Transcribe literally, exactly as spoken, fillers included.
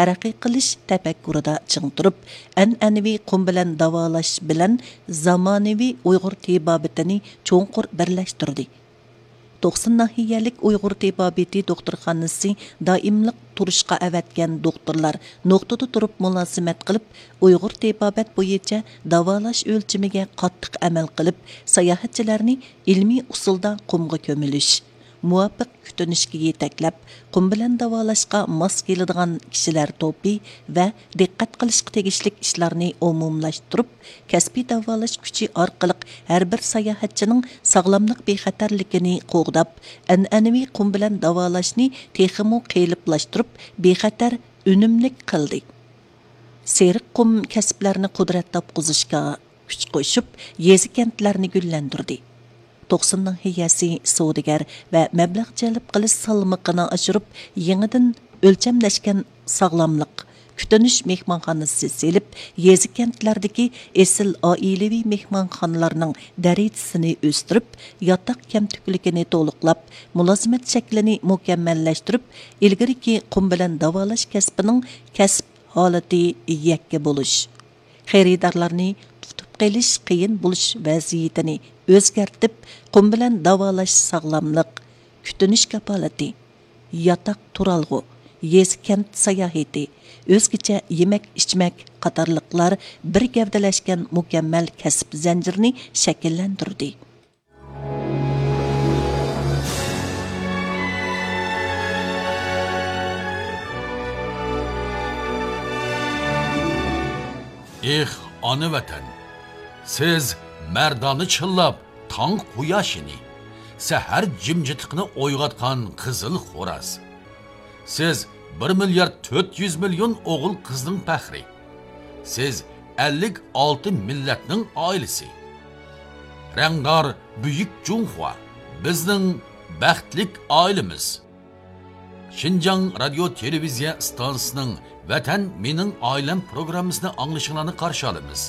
تەرەققىي قىلىش تەپەككۇرىدا چىڭ تۇرۇپ، ئەنئەنىۋى قۇم بىلەن داۋالاش بىلەن زامانىۋى ئۇيغۇر تېبابىتىنى چوڭقۇر بىرلەشتۈردى. توقسۇن ناھىيەلىك ئۇيغۇر تېبابىتى دوختۇرخانىسى دائىملىق تۇرۇشقا ئەۋەتكەن دوختۇرلار نۇقتىدا تۇرۇپ مۇلازىمەت قىلىپ، ئۇيغۇر تېبابەت بويىچە داۋالاش ئۆلچىمىگە قاتتىق ئەمەل قىلىپ، ساياھەتچىلەرنى ئىلمىي ئۇسۇلدا قۇمغا كۆمۈلۈش، مۇۋاپىق كۈتۈنۈشكە يېتەكلەپ، قۇم بىلەن داۋالاشقا ماس كېلىدىغان كىشىلەر توپى ۋە دىققەت قىلىشقا تېگىشلىك ئىشلارنى ئومۇملاشتۇرۇپ، كەسپىي داۋالاش كۈچى ئارقىلىق ھەر بىر ساياھەتچىنىڭ ساغلاملىق بىخەتەرلىكىنى قوغداپ، ئەنئەنىۋى قۇم بىلەن داۋالاشنى تېخىمۇ قېلىپلاشتۇرۇپ، بىخەتەر، ئۈنۈملۈك قىلدى. سېرىق قۇم كەسىپلەرنى قۇدرەت تاپقۇزۇشقا كۈچ قوشۇپ، يېزا، كەنتلەرنى گۈللەندۈردى. توقسۇن ناھىيەسى سودىگەر ۋە مەبلەغ جەلپ قىلىش سالمىقىنى ئاشۇرۇپ، يېڭىدىن ئۆلچەملەشكەن ساغلاملىق كۈتۈنۈش مېھمانخانىسى سېلىپ، يېزا، كەنتلەردىكى ئېسىل ئائىلىۋى مېھمانخانىلارنىڭ دەرىجىسىنى ئۆستۈرۈپ، ياتاق كەمتۈكلۈكىنى تولۇقلاپ، مۇلازىمەت شەكلىنى مۇكەممەللەشتۈرۈپ، ئىلگىرىكى قۇم بىلەن داۋالاش كەسپىنىڭ كەسىپ ھالىتى يەككە بولۇش، خېرىدارلارنى تۇتۇپ قېلىش قىيىن بولۇش ۋەزىيىتىنى ئۆزگەرتىپ، قۇم بىلەن داۋالاش ساغلاملىق كۈتۈنۈش كاپالىتى، ياتاق تۇرالغۇ، يېزا، كەنت ساياھىتى، ئۆزگىچە يېمەك، ئىچمەك قاتارلىقلار بىر گەۋدىلەشكەن مۇكەممەل كەسىپ زەنجىرىنى شەكىللەندۈردى. ئېھ، ئانا ۋەتەن! سىز مەردانە چىللاپ تاڭ قۇياشىنى، سەھەر جىمجىتلىقىنى ئويغاتقان قىزىل خوراز. سىز بىر مىليارد تۆت يۈز مىليون ئوغۇل قىزنىڭ پەخرى. سىز ئەللىك ئالتە مىللەتنىڭ ئائىلىسى. رەڭدار بۈيۈك جۇڭخۇا، بىزنىڭ بەختلىك ئائىلىمىز. شىنجاڭ رادىيو تېلېۋىزىيە ئىستانسىسىنىڭ ۋەتەن مېنىڭ ئائىلەم پروگراممىسىنى ئاڭلىشىڭلارنى قارشى ئالىمىز.